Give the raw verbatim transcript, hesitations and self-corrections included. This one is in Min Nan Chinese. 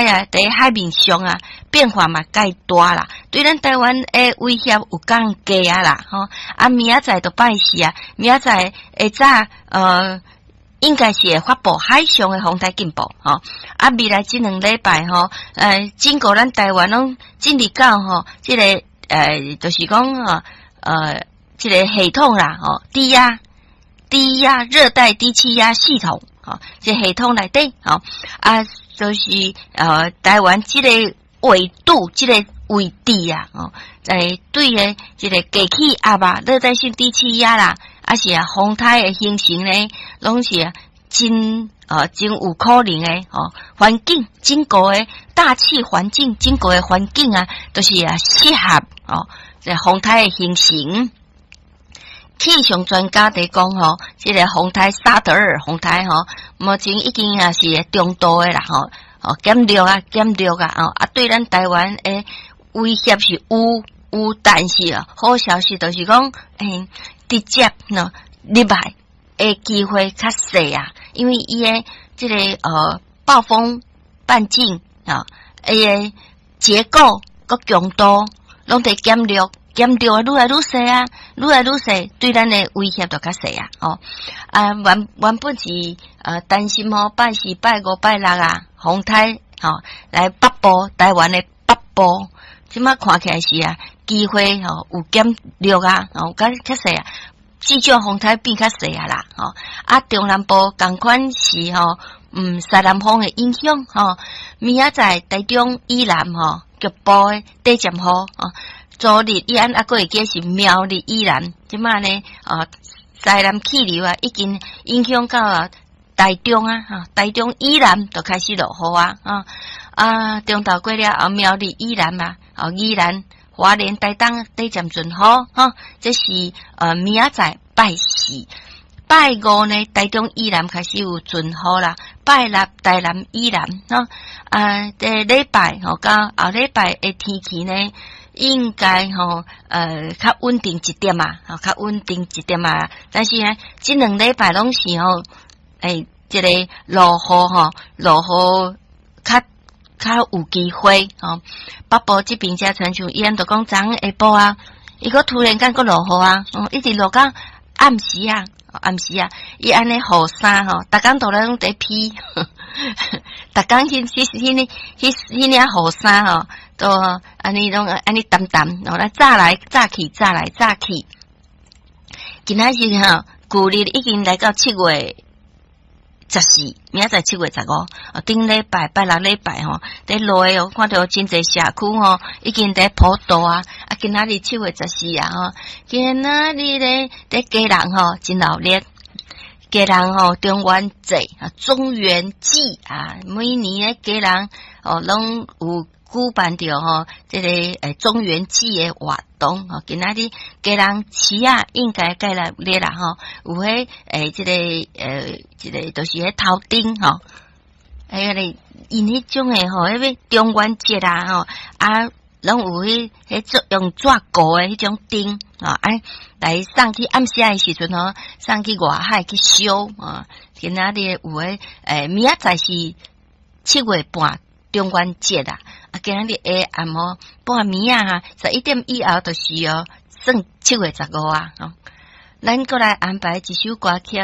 颱啊，佇海面上啊，變化嘛蓋大啦，對咱台灣的威脅有降低啊啦，吼！啊，明仔載就拜四啊，明仔載下早，呃，應該是會發布海上的風颱警報，吼！啊，未來這兩禮拜吼，呃，整個咱台灣攏進入到吼，這個呃，就是講吼，呃，這個系統啦，吼，低壓、低壓熱帶低氣壓系統，吼，這系統內底，吼，啊。就是呃，台灣這個緯度、這個位置啊，哦，在對的這個低氣壓啊，熱帶性低氣壓啦，抑是啊，風颱的形成呢，攏是真呃真有可能的哦。環境整個的大氣環境，整個的環境啊，都是啊適合哦，這風颱的形成。氣象專家佇講吼，這個風颱沙德爾風颱吼，目前已經也是中度的啦吼，哦減弱啊減弱啊，哦啊對咱台灣的威脅是有有，但是啊好消息就是講，欸直接喏入來的機會較細啊，因為伊的這個呃暴風半徑啊，伊的結構閣強度攏佇減弱。減弱啊，愈來愈細啊，愈來愈細，對咱的威脅就較細啊。哦，啊，原原本是呃擔心吼，拜四、拜五、拜六啊，風颱吼來北部台灣的北部，這馬看起來是啊，機會吼有減弱啊，哦，較較細啊，至少風颱變較細啊啦，吼啊，中南部仝款是吼，嗯，西南風的影響吼，明仔載台中以南吼局部的短暫雨吼。昨日以暗猶閣會記是苗栗以南，這馬呢，哦，西南氣流啊，已經影響到啊台中啊，哈，台中以南就開始落雨啊，啊啊，中晝過了後，苗栗以南啊，哦，宜蘭、花蓮、台東短暫陣雨，哈，這是呃明仔載拜四、拜五呢，台中以南開始有陣雨啦，拜六台南以南，吼，啊，這禮拜吼，到後禮拜的天氣呢，應該吼，呃，較穩定一點啊，吼，較穩定一點啊。但是呢，這兩禮拜攏是吼，欸，這個落雨吼，落雨較較有機會吼。北部這邊遮親像伊按就講昨昏下晡啊，伊閣突然間閣落雨啊，哦，一直落到暗時啊，暗時啊，伊按呢雨衫吼，逐工都咧攏佇披，逐工彼彼彼彼彼領雨衫吼，都按呢攏按呢澹澹，哦來紮來紮去，紮來紮去。今仔日吼，舊曆已經來到七月十四，明仔載七月十五。哦，頂禮拜拜六禮拜吼，佇落哦，看著真濟社區吼，已經佇普渡啊。啊，今仔日七月十四啊，吼，今仔日咧佇基隆吼真鬧熱。基隆吼中元節啊，中元祭啊，每年咧基隆哦攏有舉辦著吼，這個欸中元祭的活動吼。今仔日基隆市啊，應該蓋來熱啦吼，有彼欸這個呃這個就是彼頭燈吼，哎個𪜶彼種的吼，彼個中元節啊吼，啊，攏有彼彼做用紙糊的彼種燈吼，啊來送去暗時的時陣吼，送去外海去燒啊。今仔日有彼欸明仔載是七月半中元節啊，啊今仔日下暗吼半暝啊，十一點以後就是哦，算七月十五啊。吼，咱閣來安排一首歌曲。